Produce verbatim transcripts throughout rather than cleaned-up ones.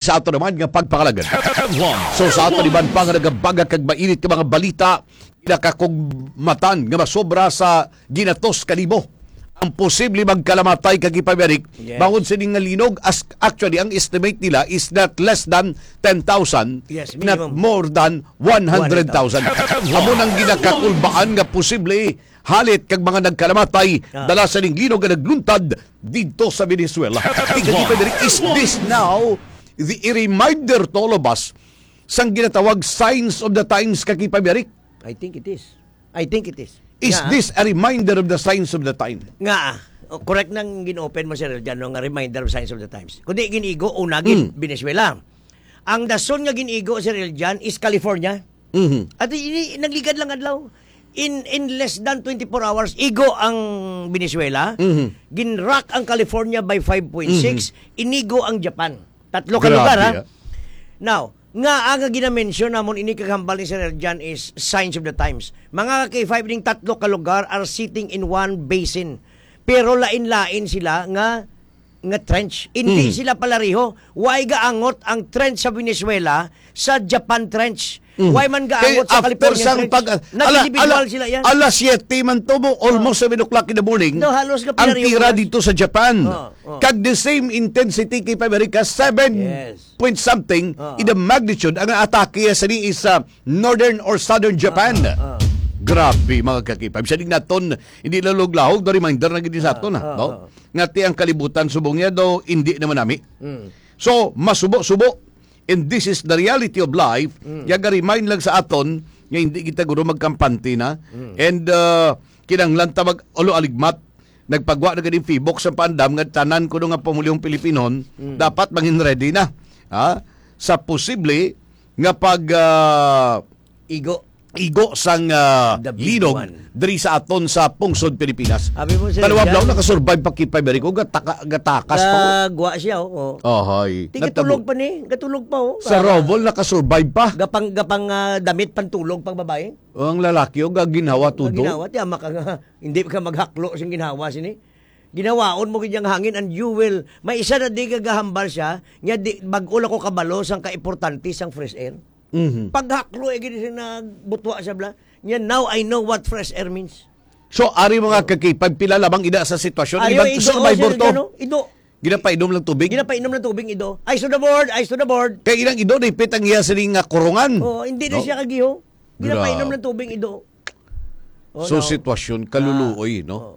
sa ato naman nga pagpangalagad. Headlines. So, sa ato naman pa nga nagabaga kag mainit nga mga balita, nakakugmatan nga masobra sa ginatos ka libo ang posible magkalamatay kag ipamirik Yes. bangod sini nga linog. As, actually, ang estimate nila is not less than ten thousand, Yes, not minimum. more than one hundred thousand. Amo nang ginakakulbaan nga posible halit kag mga nagkalamatay Ah. dala sa ning linog nga nagluntad didto sa Venezuela. Ikaduha, is this now the, a reminder to all of us sang ginatawag signs of the times, Ka Kipay Eric? I think it is. I think it is. Is Nga, this a reminder of the signs of the time? Nga, oh, correct nang gin-open mo, Sir Eljan, no, nga reminder of signs of the times. Kundi ginigo, una, gin Mm. Venezuela. Ang dason nga ginigo, Sir Eljan, is California. Mhm. At ini, nagligad lang adlaw. In, in less than twenty-four hours, igo ang Venezuela, Mhm. ginrock ang California by five point six, Mhm. inigo ang Japan. Tatlo ka Grabe, lugar, ha? ah. Now, nga ang ginamention namon ini kag hambal ni Sir Jan is signs of the times. Mga K five, ning tatlo ka lugar are sitting in one basin. Pero lain-lain sila nga nga trench. Hindi Mm. sila palareho. Why gaangot ang trench sa Venezuela sa Japan trench? Mm. Why man Kay gaangot sa after California sang trench? pag-, ala, Nag-individual ala, sila yan. alas siyete man to mo, almost Oh. seven o'clock in the morning, No, halos nga ang pinareho tira oras. dito sa Japan. Oh, oh. Kag the same intensity kay Amerika, seven Yes. point something Oh. in the magnitude ang atake sa ni is, uh, northern or southern Japan. Oh, oh, oh. Grabe, mga kakipab. Sa naton, hindi lalog-lahog, the reminder na gid sa aton, ha, Oh, no? oh. Nga ti ang kalibutan subong niya daw, hindi naman nami. Mm. So, masubo-subo. And this is the reality of life. Mm. Yaga remind lang sa aton nga hindi kita guro magkampante na. Mm. And, uh, kinahanglan ta mag-ulo aligmat. Nagpagwa na gani Facebook sa pandam nga tanan kuno nga pamulihong Pilipinon, Mm. dapat mangin ready na, ha? Sa posible nga pag, ah, Igo. igo sang, ah, The big linog one. diri sa aton sa pungsod Pilipinas. Abi mo, Sir Tanawa Jan? Blaw, nakasurvive pa kipay, very good. Gataka-, gatakas pa, oh. Gagwa siya, oh, oh. Ohoy. Ti, Natabo. gatulog pa ni. Gatulog pa, oh. Sa Ah, Rovol, nakasurvive pa. Gapang, gapang, ah, damit pantulog pang babae. Ang lalaki, oh, gaginhawa Ang tudo. ginhawa, ti, ama ka nga, hindi ka maghaklo sing ginhawa sini. Ginawaon mo gid ang hangin and you will, may isa na di gagahambal siya, nga di, bag-o lang ko kabalo sang kaimportante sang fresh air. Mhm. Paghaklo, eh, gid siya nagbutwa siya, bla. Niya, now I know what fresh air means. So, ari mga Oh. kakipag, pila lamang ina sa sitwasyon, Ayo, iban ido, survivor oh, to. Sir, ano? Ido. Ginapainom lang tubig? Ginapainom lang tubig, ido. Eyes to the board, eyes to the board. Kay ilang ido, dipit ang iya sining nga kurungan. Oh, hindi na No? siya kagiho. Ginapainom Gra- lang tubig, ido. Oh, So, no. sitwasyon, kaluluoy, Ah, no? oh.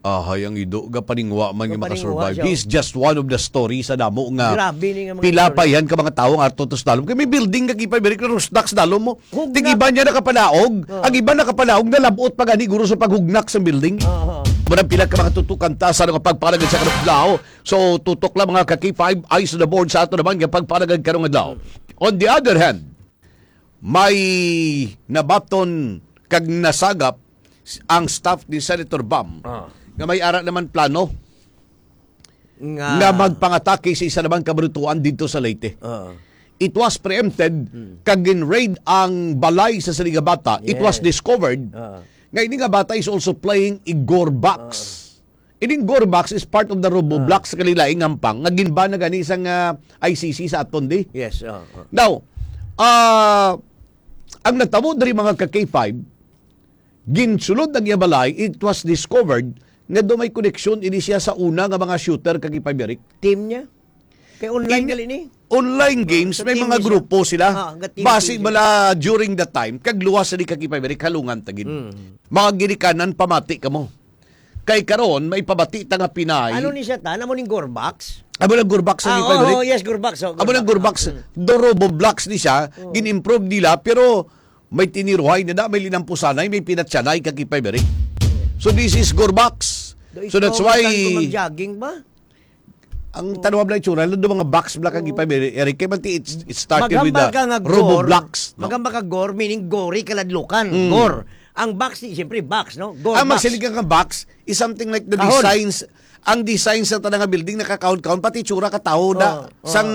Ahay, ang ido, gapaningwa man nga Gapaningwa makasurvive. siya. He's just one of the story sa damo nga Grabe ni nga mga pila pa story. yan ka mga tawo nga ato to sa dalom. Kay may building ka, Kipay, very close, dak sa dalom mo. Hugnak. Tig iba niya nakapanaog. Oo. Ang iba nakapanaog, nalabot pa gani, guro, sa paghugnak sa building. Oo. Murag pila ka mga tutukan ta sa mga pagpanagad sa karong adlaw. So, tutok lang, mga ka-K five, eyes on the board sa ato naman nga pagpanagad karong adlaw. On the other hand, may nabaton kag nasagap ang staff ni Senator Bam Ah. nga may ara naman plano Nga nga magpangatake sa isa naman ka barutuan dito sa Leyte. Ah. It was preempted Hmm. kag gin-raid ang balay sa sini nga bata. It was Yes. discovered Ah. nga ini nga bata is also playing Igor box. Ah. Ining Gore box is part of the Robo Ah. Blocks sa kalilaing hampang nga ginban na gani sang, ah, I C C sa aton di. Yes, ah, ah. Now, ah, ang nagtabo diri, mga ka K five, ginsulod ang iya balay, it was discovered nga do may koneksyon ini siya sa una nga mga shooter, ka K five, Eric. Team niya? Kay online In gali ni? Online Oh, games, sa may team mga niya siya. grupo sila. Ah, ga-team Basi team siya. bala during that time, kag luwas sa di, ka K five, Eric, halungan tagid. Mm. Mga ginikanan, pamati kamo. Kay karon, may pabati ta nga Pinay. Ano ni siya ta? Amo ning Gore box? Amo lang Gore box ang Ah, ipay oo, balik. yes, Gore box. Oh, Amo lang Gore box. Mm. Do Robo Blocks ni siya, Oo. gin-improve nila, pero may tiniruhay na na, may linampusanay, may pinatsanay, kag ipay balik. So this is Gore box. Do So that's ikaw why kan kung mag-jogging ba? Ang Oh. tanawab lang itsura, lalo mga box black ang Oh. ipay balik. Eric, kay man ti, it's, it started with Maghambal the ka nga Robo gore. Blocks, no? Maghambal ka gore, meaning gory, kaladlukan. Mm. Gore. Ang box, di, siyempre, box, no? Gore Ang box. magsiling ka nga box is something like the Kahon. designs, ang design sa tanang nga building nakakahon-kahon, pati tsura ka tao na Oh, oh. sang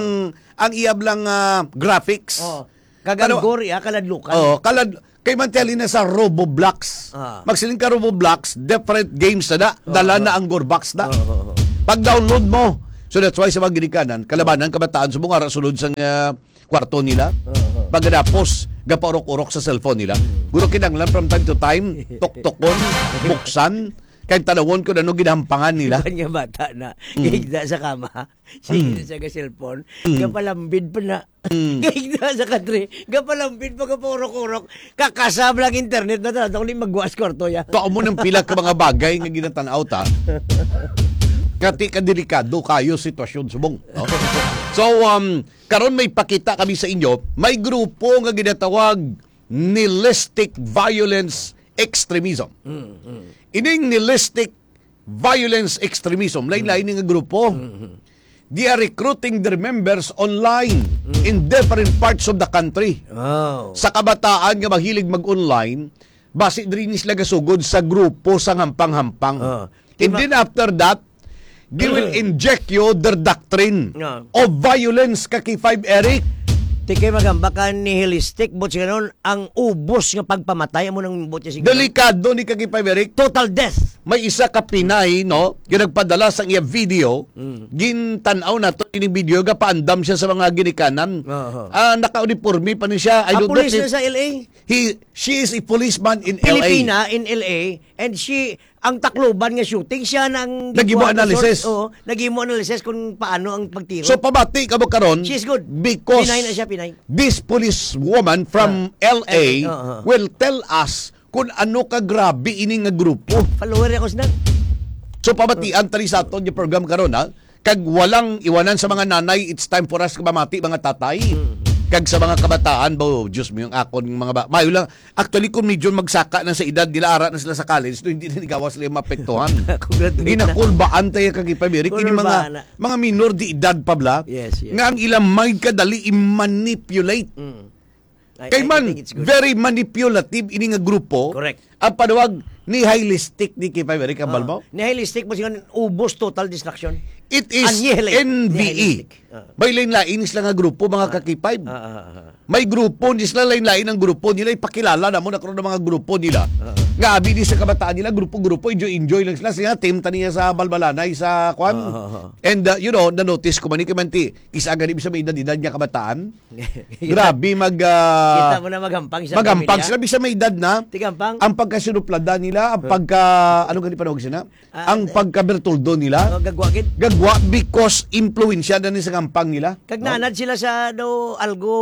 ang iyab lang, ah, graphics. Oh. Kagang Pero gore, ah, kaladlukan. Oh, kalad-, kay man tiyali na sa Robo Blocks. Ah. Magsiling ka Robo Blocks, different games na na. Oh, Dala oh. na ang gore box na. Oh, oh, oh. Pag-download mo, So that's why sa mga ginikanan, kalabanan kabataan subong ara sulod sa nga kwarto nila. Oo. Pagkatapos, gapaurok-urok sa cellphone nila. Guro, kinahanglan from time to time, tuktukon, buksan, kay tanawon kung ano ginampangan nila. Iban nga bata na, Mm. gihigda sa kama, sige Mm. na siya ka cellphone, Mm. gapalambid pa na. Mm. Gihigda sa katre, gapalambid pa, gapaurok-urok, kakasab lang internet na talaga, kung di magwa sa kwarto ya. Tua mo nang pila ka mga bagay nga ginatanaw ta. Kati ka delikado kayo sitwasyon subong, no? So, um, karon may pakita kami sa inyo, may grupo nga ginatawag nihilistic violence extremism. Mm, mm. Ining nihilistic violence extremism, lain-lain nga grupo. Mm, mm. They are recruiting their members online Mm. in different parts of the country. Oh. Sa kabataan nga mahilig mag-online, basi diri ni sila gasugod sa grupo sa hampang-hampang. Oh. And Tima- then after that, they will inject you their doctrine No. of violence, ka K five Eric. Ti kay magamba ka nihilistic, but siya nun, ang ubos nga pagpamatay, amo nang buot niya siguro. Delikado ni ka K five Eric. Total death. May isa ka Pinay, no, nga nagpadala sa iya video, Mm. gintan-aw nato ini video, gapaandam siya sa mga ginikanan. Oho. Ah, naka-uniforme pa ni siya. I Ah, don't know police if na sa L A? he, she is a policeman in L A. Pilipina in L A, and she, ang Tacloban nga shooting, siya nang Naghimo gikuha sa analysis. source. Oo, naghimo analysis kung paano ang pagtiro. So, pabati ka mo karon She's good. because Pinay na siya, Pinay. this police woman from Ah, L A L A, oo, oo. will tell us kung ano ka grabe ini nga grupo. Follower ako sila. So, pabatian tali sa aton yung program karon, ha? Kag walang iwanan sa mga nanay, it's time for us ka mamati, mga tatay. Mm. Kag sa mga kabataan, ba, oh, Diyos mo, yung akon, yung mga ba-, mayo lang. Actually, kung medyo magsaka na sa edad nila, ara na sila sa college, no, hindi na gawas sila maapektuhan. Kung graduate na. Ginakulbaan tayo, ka K five Eric. Ini mga, Kulbaan na. mga minor de edad pa bala, Yes, yes. nga ang ilang mind kadali i-manipulate. Mm. I, Kay I man, think it's good. very manipulative ini nga grupo. Correct. Ang panawag nihilistic ni K five Eric, ang Ah, balbaw? nihilistic mo siya, ubos, total destruction. It is Annihilate. N V E. Nihilistic. Ah. May lain-lain sila nga grupo, mga Ah. ka K five. Ah, ah, ah, ah. May grupo ni sila, lain-lain ang grupo nila. Ipakilala na mo na karon ang mga grupo nila. Ah. Nga abi ni sa kabataan nila, grupo-grupo, enjoy-enjoy lang sila. Sila, team taniya sa balbalanay, sa kwan. Ah, ah, ah. And, uh, you know, na-notice ko man, ni Kimanti, isa gani sa may edad-edad nga kabataan. Grabe, mag, ah, Kita mo na maghampang sa magampang pamilya. sila, bisan may edad na. Tigampang. Ang pagkasinuplada nila, ang Huh? pagka, ano gani panawag sila? Ah, Ang eh, pagkabertuldo nila. Oh, gagwa gid. Gagwa because impluwensya na ni sa gampang nila. Kag No? naanad sila sa daw algo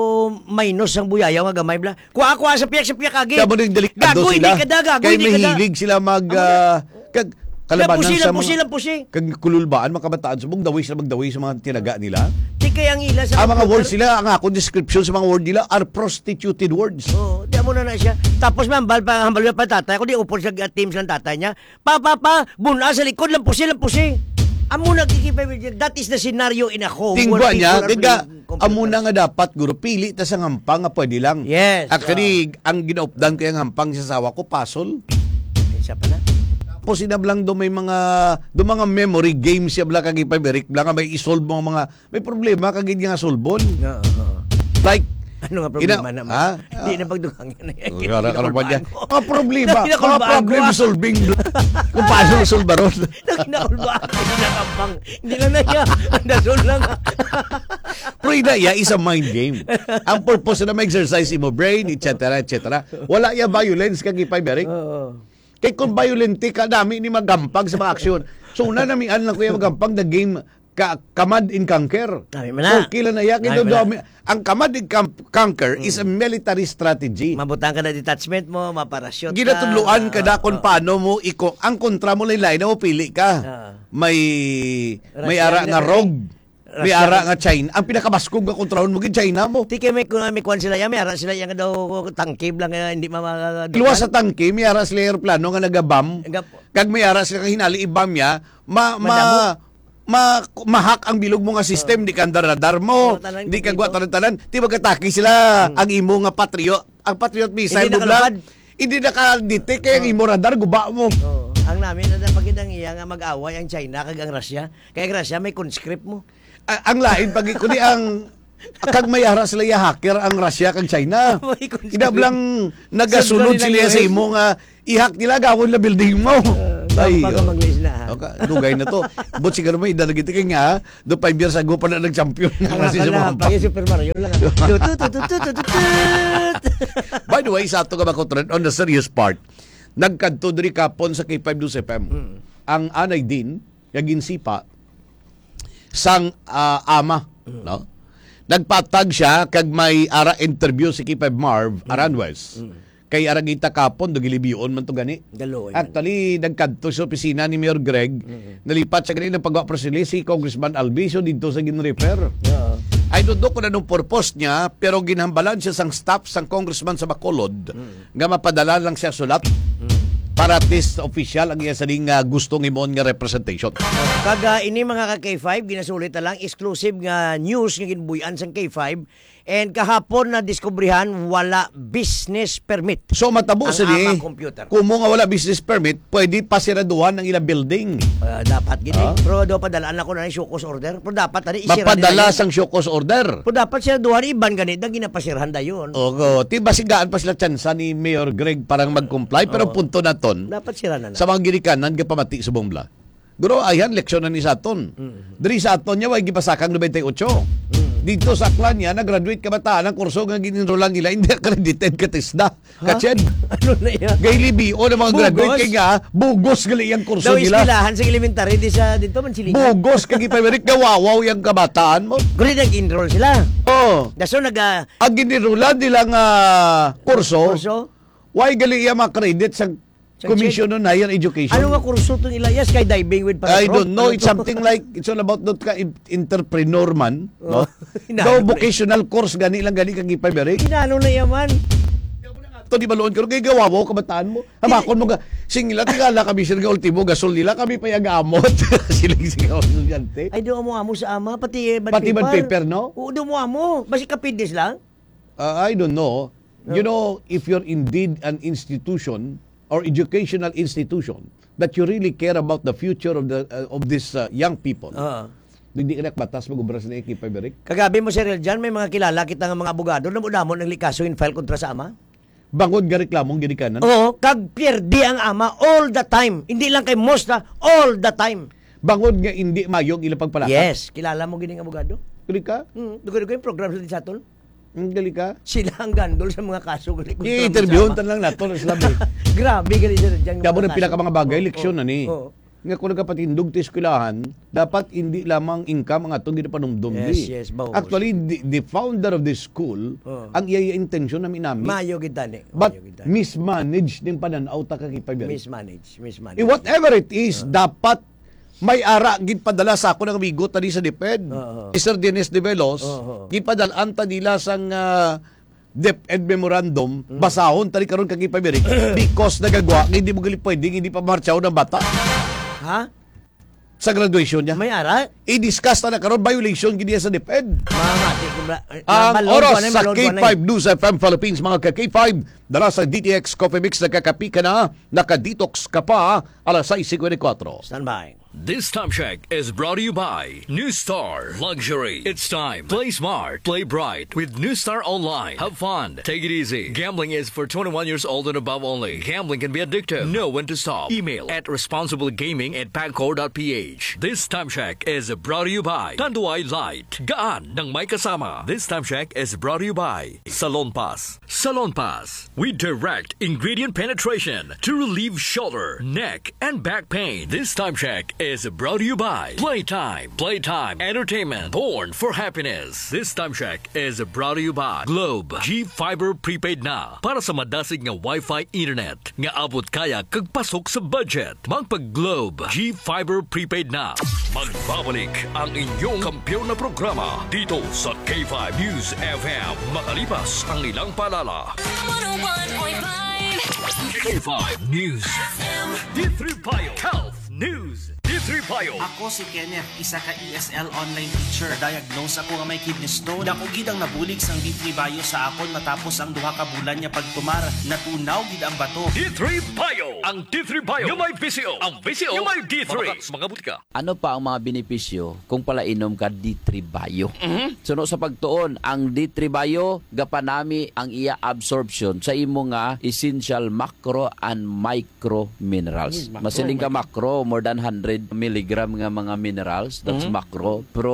minus ang buyayaw nga gamay bla. Kuha, kuha sa piyak, sa piyak agi. Kaya mo ning delikado Gago, sila. hindi ka da, gago, Kaya hindi ka da. mahilig sila mag, Amo na. ah, kag kalabanan Lampusi, sa lampusi, mga lampusi. kag kululbaan, mga kabataan, subong daway sila magdaway sa mga tinaga nila. Di kay ang ila sa Ang mga computer. words nila, ang akong description sa mga word nila are prostituted words. Oo, di amo na na siya. Tapos may hambal pa, hambal pa tatay. Ako di upod sa team sa tatay niya. Pa, pa, pa, buna sa likod, lampusi, lampusi. Amo na, Kiki, that is the scenario in a home Tingwa where niya, people are kaya playing computer. amo na nga dapat, guro, pili ta sa ngampang nga pwede lang. Yes, Actually, ang ginaupdan ko yung ngampang sa asawa ko, puzzle. Isa pa na. Tapos sinablang do may mga, do mga memory games siya bla kag ipabalik bla nga may isolve mo ang mga, may problema kag hindi nga solbon. Oo, oo. Like, Ano nga problema ina-, naman? ha? Hindi na pagdugang yan. Oh, yara ka naman dyan. Mga problema. Hindi na Mga kulbaan ko, problem ah. solving. Kung paano solbaron. Nagkinakulbaan ko, hindi na kampang. Hindi na na niya. Ang dasol lang. Pero ina, ya, is a mind game. Ang purpose na ma-exercise imo brain, et cetera, et cetera. Wala ya violence kag ipay, Eric. Oo. Kay kung violente ka, dami ni magampang sa mga aksyon. So, una namian lang ko yung magampang the game ka, command and conquer. Dami man na. Okay lang na yan. Dami Kaya man na. dami, ang command and com-, conquer is a Mm. military strategy. Mabutang ka na detachment mo, maparashoot ka. Ginatudloan ka na Ah, kung ah. paano mo iko-, ang kontra mo lain-lain na mo pili ka. Ah. May, may Russia ara na nga na rogue. May Russia ara na nga China. Ang pinakabaskog nga kontrahon mo gid China mo. Ti kay may, may kuwan sila yan, may ara sila yan nga daw tangke lang nga hindi mama- Luwas sa tangke, may ara sila eroplano nga nagabam. Nagab- Kag may ara sila nga hinali ibam ya, ma-, ma-, Madamo. ma-, ma-hack ang bilog mo nga system, Oo. di ka andar radar mo, Oo, tanan di ka kumpleto. guwa tanan-tanan. Di magkatake sila, Hmm. ang imo nga Patriot, ang Patriot missile Hindi mo bla, nakalapad. hindi naka-detect kay ang Oo. imo radar, guba mo. Oo. Ang namin na napagid ang iya nga mag-away ang China kag ang Russia. Kay ang Russia may conscript mo. A-, ang lain pag, kundi ang, kag may ara sila ya hacker ang Russia kag China. May conscript. Idablang nagasulod Sundalo sila nila sa yun. imo nga i-hack nila, gawon na building mo. Ah. Ay, Tampa ka oh. Mag-Leeds na, ha? Okay, dugay na to. But siguro may idalagit kay nga, do five years ago pa na nag-champion na Ang kasi sa akala, mga pag Super Mario lang. Tut, tut, tut, tut, tut, tut, tut. By the way, sa ato nga mga kutron, on the serious part, nagkadto diri kapon sa K five News F M. Mm. Ang Anay Din, nga ginsipa sang, ah, ama, Mm. no? Nagpatag siya kag may ara interview si K five Marv Mm. Aranjuez. Mm. Kay ara kita kapon, do gilibion man to gani. Galoy man. Actually, nagkadto sa opisina ni Mayor Greg, Mm. nalipat siya gani ng pagwa press release si Congressman Alviso dito sa gin-refer. Oo. I don't know kung anong purpose niya, pero ginhambalan siya sang staff sang congressman sa Bacolod Mm. nga mapadala lang siya sulat Mm. para at least official ang iya sining, ah, gustong himuon nga representation. Kag, ah, ini mga ka K five, ginasulit na lang, exclusive nga news nga ginbuy-an sang K five. And kahapon na diskubrihan, wala business permit So, matabo ang sini, ama computer. Kumo nga wala business permit, pwede pasiraduhan ang ilang building. Ah, dapat gid Ah? eh. Pero daw padalaan ako na yung show cause order. Pero dapat tani isira Mapadala nila yun. Sang show cause order. Pero dapat siraduhan, iban ganit na ginapasirahan dayon. Oo, ti basigaan pa sila tsansa ni Mayor Greg parang mag-comply, pero Oo. Punto naton, Dapat sira na na. Sa mga ginikanan nga pamati sa Bongla. Guro, ayhan, leksyon na ni sa aton. Mm. Diri sa aton niya, way gipasakang ninety-eight. Mm. Dito sa Aklan niya, nag-graduate kabataan ang kurso nga gin-enrollan nila, hindi accredited ka TESDA. Ha? Kached. Ano na yan? Gay libion ang mga Bugos? Graduate kay nga, bugos gali ang kurso Daw nila. Eskwelahan sa elementary, di sa dito man sila. Bugos kag ipamirit nga wawaw yung kabataan mo. Guri nag-enroll sila. Oh. Daso nag, ah, Ang gin-enrollan nila nga kurso, Kurso? Why gali iya mga credit sa Sa Commission on Higher Education? Ano nga kurso itong ila? Yes, skydiving with I paratrooper. Don't know. Ano It's to? Something like, it's all about that ka in- entrepreneur man, Oh, no? Hinalo Daw na vocational course gani lang gani kag ipamirit. Hinalo na yaman. Ito di baloon karon kay gawawaw kabataan mo. Hamakon mo ga singila tingala kami sir nga ultimo gasol nila kami pa yagamot. Siling sigaw estudyante. Ay, do mo amo sa ama, pati eh, bad Pati bad paper. Paper, no? Oo, do mo amo. Basi kapides lang. Uh, I don't know. No. You know, if you're indeed an institution or educational institution that you really care about the future of the uh, of this uh, young people, Ah. Hindi ka nakbatas mag-obra sa Ekipa Berik. Kagabi mo, Sir Eljan, may mga kilala kita nga mga abogado na mo damo ng likaso in file kontra sa ama. Bangod nga reklamong ginikanan? Oo, kag pierde ang ama all the time. Hindi lang kay Mosta, all the time. Bangod nga hindi mayog ilang pagpalakad? Yes, kilala mo gining abogado? Kuli ka? Hmm, dugo-dugo yung program sa Disaton. Ang gali ka? Sila ang gandol sa mga kaso gali kontra sa I-interviewon ama. Tan lang nato, Islam, eh. Grabe gali sa dyan. Kamo ng pila ka mga bagay, Oo, leksyon oo, na ni. Oo. Nga kung nagkapatindog ti eskwelahan, dapat hindi lamang income ang atong ginapanumdum Yes, di. Yes, bahos. Actually, the, the founder of the school, Oo. Ang iya intensyon na minami. Mayo gid tani. But Mayo gid tani. Mismanage ning pananaw ta ka kay Fabian. Mismanage, mismanage. Eh, whatever it is, Oo. Dapat may ara gid padala sa ako ng amigo tani sa DepEd. Oo. Mister Dennis Develos, Oo. Gipadalaan ta nila sang, ah, DepEd memorandum, Mm. Basahon tani karon kag ipamirik because nagagwa nga hindi mo gali pwedeng hindi pa martsaw ng bata. Ha? Sa graduation niya. May ara? I-discuss ta na karon, violation gid niya sa DepEd. Mamati ko bra-, eh, Ang mabalon oras ko na, sa mabalon ko na. K five News F M Philippines, mga ka K five, dala sa D T X Coffee Mix, nagkakapi ka na, naka-detox ka pa, alas sais cincuenta y cuatro. Standby. This time check is brought to you by New Star Luxury. It's time. Play smart, play bright with New Star Online. Have fun, take it easy. Gambling is for twenty-one years old and above only. Gambling can be addictive. Know when to stop. Email at responsiblegaming at pagcor dot p h. This time check is brought to you by Tanduay Light. Gaan ng may kasama. This time check is brought to you by Salon Pass. Salon Pass. We direct ingredient penetration to relieve shoulder, neck, and back pain. This time check is brought to you by Playtime. Playtime Entertainment. Born for happiness. This time check is brought to you by Globe. G Fiber Prepaid na para sa madasig nga Wi-Fi internet nga abot kaya kag pasok sa budget. Magpag-Globe. G Fiber Prepaid na. Magbabalik ang inyong kampiyon na programa dito sa K five News F M. Makalipas ang ilang paalala. One oh one point five K five News F M. D three Bio Health News. D Three Bio. Ako si Kenneth, isa ka E S L online teacher. Diagnose ako nga may kidney stone. Dako gid ang nabulig sang D three Bio sa akon matapos ang duha ka bulan nga pagtumar. Natunaw gid ang bato. D three Bio. Ang D three Bio nga may V C O. Ang V C O nga may D three. Mga butika. Ano pa ang mga benepisyo kung palainom ka D three Bio? Mhm. Suno sa pagtuon, ang D three Bio gapanami ang iya absorption sa imo nga essential macro and micro minerals. Uy, macro, micro. Masiling ka macro, more than hundred milligram nga mga minerals, that's Mhm. macro. Pero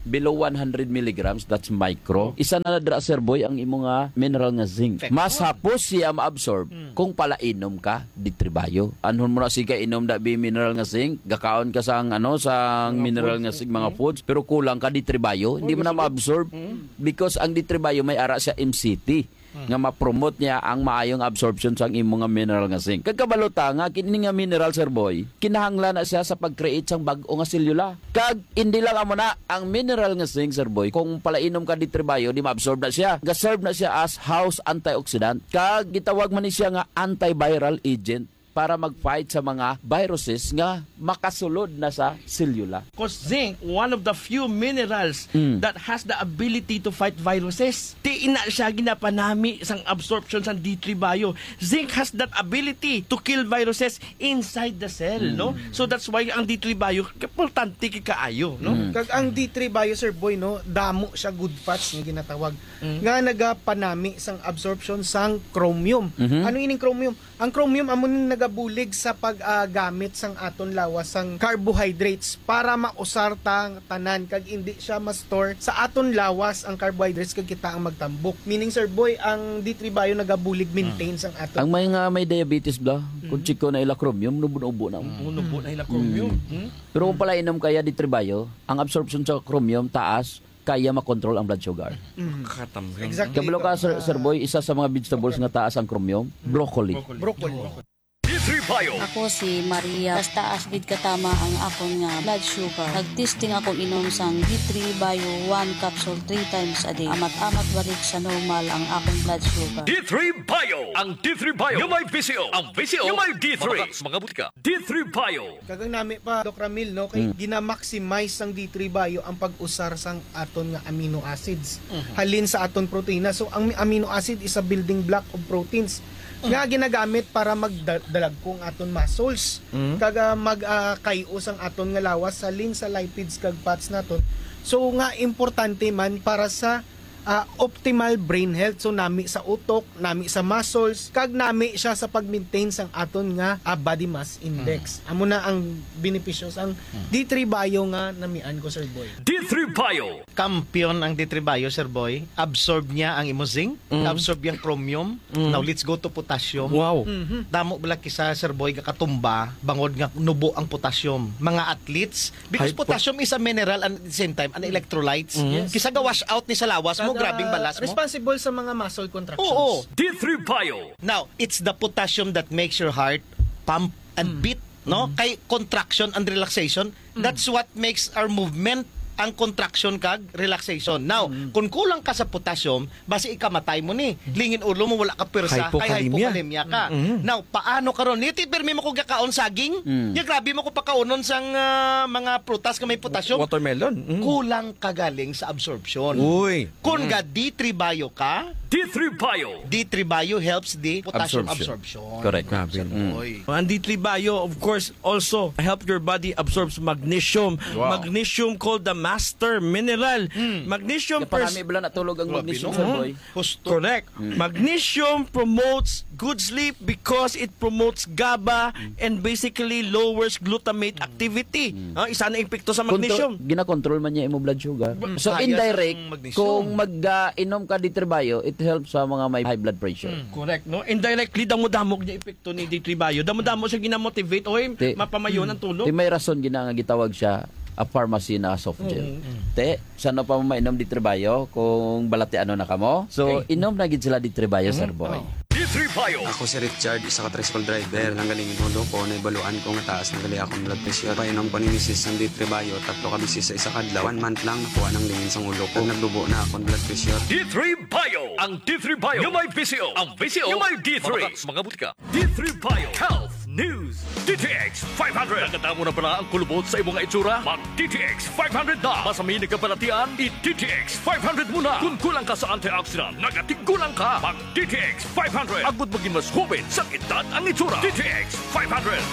below one hundred milligrams, that's micro. Oh. Isa na dra, Sir Boy, ang imo nga mineral nga zinc. Zinc. Mas hapos siya ma-absorb Mm. kung palainom ka D three Bio. Anhon mo na siya inom da bi mineral nga zinc, gakaon ka sang, ano, sang Mga mineral foods. nga zinc, mga Mm. foods, pero kulang ka D three Bio, hindi mo na ma-absorb. Mm. Because ang D three Bio may ara siya M C T. Hmm. Nga ma-promote niya ang maayong absorption sang imo nga mineral nga zinc. Kag kabalo ta nga kini nga mineral, Sir Boy, kinahanglan na siya sa pag-create sang bag-o nga selula. Kag hindi lang amo na, ang mineral nga zinc, Sir Boy, kung palainom ka D three Bio, di ma-absorb na siya. Ga-serve na siya as house antioxidant. Kag gitawag man ni siya nga antiviral agent para mag-fight sa mga viruses nga makasulod na sa selula. 'Cause zinc, one of the few minerals Mm. that has the ability to fight viruses. Ti ina siya ginapanami sang absorption sang D three Bio. Zinc has that ability to kill viruses inside the cell, Mm. no? So that's why ang D three Bio importante kay kaayo, no? Mm. Kag ang D three Bio, Sir Boy, no, damo siya good fats nga ginatawag Mm. nga nagapanami sang absorption sang chromium. Mhm. Ano ining chromium? Ang chromium amo ning nagabulig sa pag, ah, gamit sang aton lawas sang carbohydrates para mausar ta tanan kag indi siya ma-store sa aton lawas ang carbohydrates kag kita ang magtambok. Meaning, Sir Boy, ang D three Bio nagabulig maintain Mm. sang aton. Ang may nga may diabetes bla, kung Mm. check ko na ila chromium, nubo-nubo na. Mm, nubo na ila chromium. Mm. Mm. Pero kung palainom ka ya D three Bio, ang absorption sa chromium taas, kaya makontrol ang blood sugar. Mm. Katamgang. Exactly. Kabalo ka, Sir, Sir Boy, isa sa mga vegetables nga taas ang chromium, broccoli. Broccoli. D three Bio. Ako si Maria. Taas-taas gid katama ang akon nga blood sugar. Nag-testing ako inom sang D three Bio one capsule three times a day. Amat-amat balik sa normal ang akon blood sugar. D three Bio. Ang D three Bio nga may V C O. Ang V C O nga may D three. Mga, mga butika. D three Bio. Kag ang nami pa, Doc Ramil, no, kay Mm. gina-maximize sang D three Bio ang pag-usar sang aton nga amino acids Mhm. halin sa aton protina. So, ang amino acid is a building block of proteins Mm. nga ginagamit para magdalagko ang aton muscles. Mm. Kag, ah, mag, ah, kay-o sang aton nga lawas halin sa lipids kag fats naton. So, nga importante man para sa ah, optimal brain health. So, nami sa utok, nami sa muscles, kag nami siya sa pag-maintain sang aton nga, ah, body mass index. Mm. Amo na ang benepisyo sang Mm. D three Bio nga namian ko, Sir Boy. D three Bio. Kampiyon ang D three Bio, Sir Boy. Absorb niya ang imo zinc, Mm. absorb yang chromium. Mm. Now, let's go to potassium. Wow. Mhm. Damo bala kisa, Sir Boy, gakatumba, bangod nga nubo ang potassium. Mga athletes, Because Hypo- potassium is a mineral and at the same time, an electrolytes. Mm. Yes. Kisa ga-wash out ni sa lawas mo, Kag, grabing ah, balas mo. Responsible sa mga muscle contractions. Oo. D three Bio. Now, it's the potassium that makes your heart pump and Mm. beat, no? Mm. Kay contraction and relaxation, Mm. that's what makes our movement ang contraction kag relaxation. Now, Mm. kung kulang ka sa potassium, basi ikamatay mo ni. Lingin ulo mo, wala ka pwersa, kay Hypokalemia. hypokalemia ka. Mm. Now, paano karon? Niti, pirmi mo ko gakaon saging, Mm. ya grabe mo ko pakaunon sang, ah, mga prutas nga may potassium. Watermelon. Mm. Kulang ka galing sa absorption. Uy. Kung Mm. ga D three Bio ka, D three Bio. D three Bio helps the potassium Absorption. absorption. Correct. Grabe. Sir Mm. Boy. Ang D three Bio, of course, also help your body absorbs magnesium. Wow. Magnesium called the master mineral. Mm. Magnesium Kaya pers- parami bala natulog ang Grabe, magnesium, no? Sir Boy. Husto. Correct. Mm. Magnesium promotes good sleep because it promotes GABA Mm. and basically lowers glutamate Mm. activity. Mm. Ah, isa na epekto sa Kung to, magnesium. ginakontrol man niya imo blood sugar. Ba-, So, kaya indirect, sa magnesium. kung mag, ah, inom ka D three Bio, it helps sa mga may high blood pressure. Mm. Correct, no? Indirectly, damo-damo niya epekto ni D three Bio. Damo-damo siya ginamotivate. Oy, Ti-, mapamayon ang tulog. ti may rason gina nga gitawag siya a pharmacy na soft gel. Mm. Te, Sa ano pa mo mainom D three Bio kung balatianon na kamo? So, Okay. inom na gid sila D three Bio, Mhm. Sir Boy. Oh. D three Bio. Ako si Richard, isa ka tricycle driver. Nanggalingin ulo ko, naibaluan ko nga taas na gali akong blood pressure. Painom ko ni misis sang D three Bio, tatlo ka beses sa isa ka adlaw. One month lang, nakuha nang lingin sang ulo ko. Kag nagdubo na akong blood pressure. D three Bio. Ang D three Bio nga may V C O. Ang V C O nga may D three. Mga, mga butika. D three Bio. Health News, D T X five hundred. Nakadamo na bala ang kulubot sa imo nga itsura? Mag D T X five hundred na. Masamin nga balatian, i D T X five hundred mo na. Kung kulang ka sa antioxidant, nagatigulang ka. Mag D T X five hundred. Agud maging mas hoben sang edad ang itsura. D T X five hundred.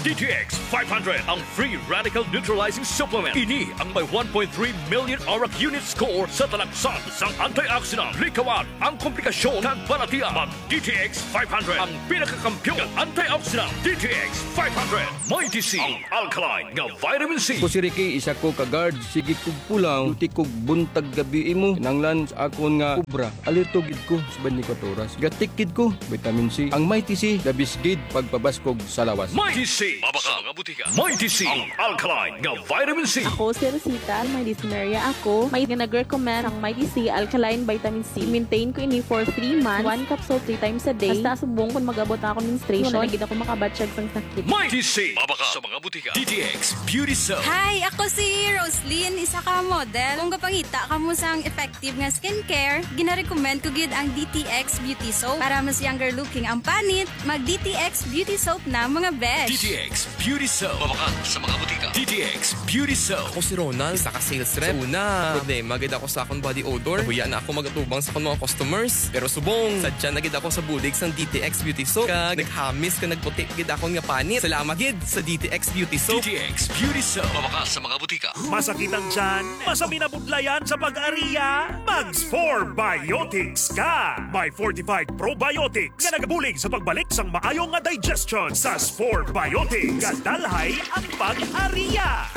D T X five hundred, ang free radical neutralizing supplement. Ini ang may one point three million ORAC unit score sa talaksan sang antioxidant. Likawan ang komplikasyon kag balatian. Mag D T X five hundred, ang pinakakampiyon nga antioxidant. D T X five hundred. Mighty C, ang alkaline nga vitamin C. Ako si Ricky, isa ko ka guard. Sige kog pulaw, duty kog buntag gabi imo. Kinahanglan sa akon nga obra. Alerto gid ko sa twenty-four oras. Gatik gid ko, vitamin C. Ang Mighty C, the best gid pagpabaskog sa lawas. Mighty C, mabakal nga butika. Mighty C, ang alkaline nga vitamin C. Ako si Rosita, may dysmenorrhea ako. May nga nag-recommend ang Mighty C alkaline vitamin C. Maintain ko ini for three months. One capsule three times a day. Hasta subong kung mag-abot na ako menstruation, wala na gid ako makabatyag sang sakit. Mighty C, mabakal sa mga butika. D T X Beauty Soap. Hi, ako si Roslyn, isa ka model. Kung gapangita kamo sang effective nga skincare, ginarecommend ko gid ang D T X Beauty Soap. Para mas younger looking ang panit, mag D T X Beauty Soap na, mga besh. D T X Beauty Soap. Mabakal sa mga butika. D T X Beauty Soap. Ako si Ronald, isa ka sales rep. Sa una, problema gid ako sa akong body odor. Nahuya na ako mag-atubang sa akong mga customers. Pero subong, sadya na gid ako sa bulig sang D T X Beauty Soap. Kag naghamis kag nagputi gid akon nga panit. Salamat gid sa D T X Beauty Soap. D T X Beauty Soap. Mabakal sa mga butika. Masakit ang tiyan? Masami na budlayan sa pag-ariya? Mag Spore Biotics ka! May fortified probiotics nga nagabulig sa pagbalik sang maayo nga digestion. Sa Spore Biotics, gadalhay ang pag-ariya.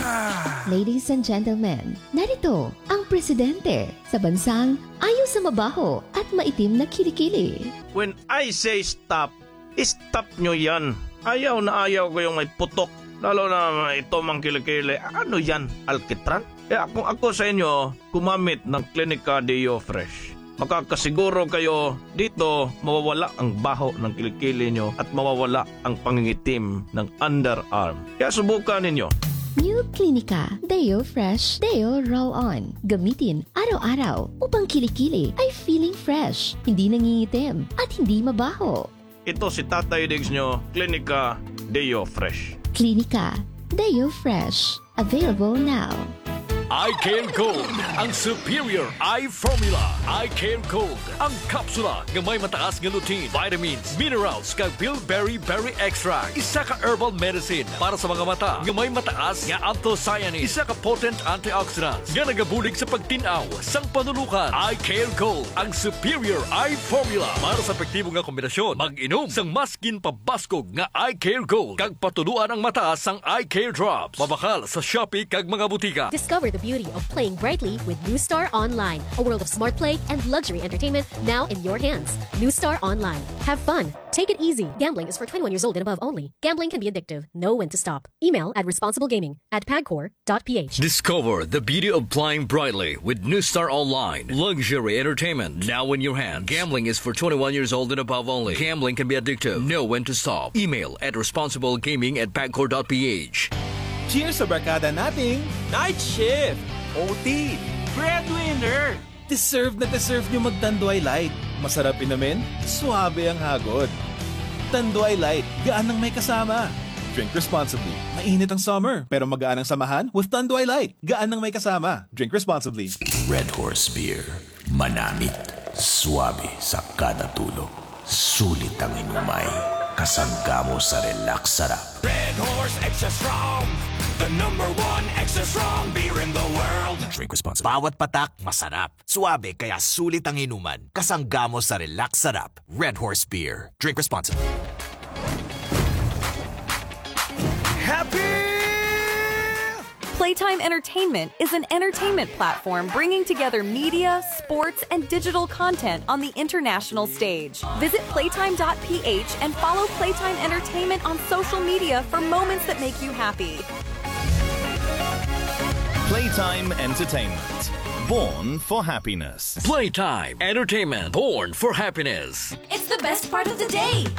Ladies and gentlemen, narito ang presidente sa bansang ayo sa mabaho at maitim na kilikili. When I say stop, stop nyo yan. Ayaw na ayaw ko yung may putok. Lalo na ito mang kilikili. Ano yan? Alkitran? Kaya kung ako sa inyo, gumamit ng Clinica Deo Fresh. Makakasiguro kayo dito mawawala ang baho ng kilikili nyo at mawawala ang pangingitim ng underarm. Kaya subukan ninyo. New Clinica Deo Fresh Deo Roll On. Gamitin araw-araw upang kilikili ay feeling fresh, hindi nangingitim, at hindi mabaho. Ito si Tatay Diggs nyo, Clinica Deo Fresh. Clinica Deo Fresh. Available now. Eye Care Gold, ang superior eye formula. Eye Care Gold, ang kapsula nga may mataas nga lutein, vitamins, minerals, kag bilberry berry extract. Isa ka herbal medicine para sa mga mata nga may mataas nga anthocyanins. Isa ka potent antioxidant nga nagabulig sa pagtin-aw sang panulukan. Eye Care Gold, ang superior eye formula para sa epektibo nga kombinasyon. Mag-inom sang mas ginpabaskog nga Eye Care Gold kag patuluan ang mata sang Eye Care Drops. Mabakal sa Shopee kag mga butika. Discover the beauty of playing brightly with New Star Online, a world of smart play and luxury entertainment now in your hands. New Star Online. Have fun. Take it easy. Gambling is for twenty-one years old and above only. Gambling can be addictive. Know when to stop. Email at responsiblegaming at pagcor dot p h. Discover the beauty of playing brightly with New Star Online. Luxury entertainment now in your hands. Gambling is for twenty-one years old and above only. Gambling can be addictive. Know when to stop. Email at responsiblegaming at pagcor dot p h. Cheers sa barkada nating night shift, O T, breadwinner. Deserve na deserve nyo mag-Tanduay Light. Masarap inumin, suabe ang hagod. Tanduay Light, gaan nang may kasama. Drink responsibly. Mainit ang summer, pero magaan ang samahan with Tanduay Light. Gaan nang may kasama. Drink responsibly. Red Horse Beer. Manamit. Suabe sa kada tulo. Sulit ang inumay. Kasangga mo sa relax sarap. Red Horse Extra Strong, the number one extra strong beer in the world. Drink responsibly. Bawat patak, masarap. Suabe, kaya sulit ang inuman. Kasangga mo sa relax sarap. Red Horse Beer. Drink responsibly. Happy! Playtime Entertainment is an entertainment platform bringing together media, sports, and digital content on the international stage. Visit playtime dot p h and follow Playtime Entertainment on social media for moments that make you happy. Playtime Entertainment. Born for happiness. Playtime Entertainment. Born for happiness. It's the best part of the day.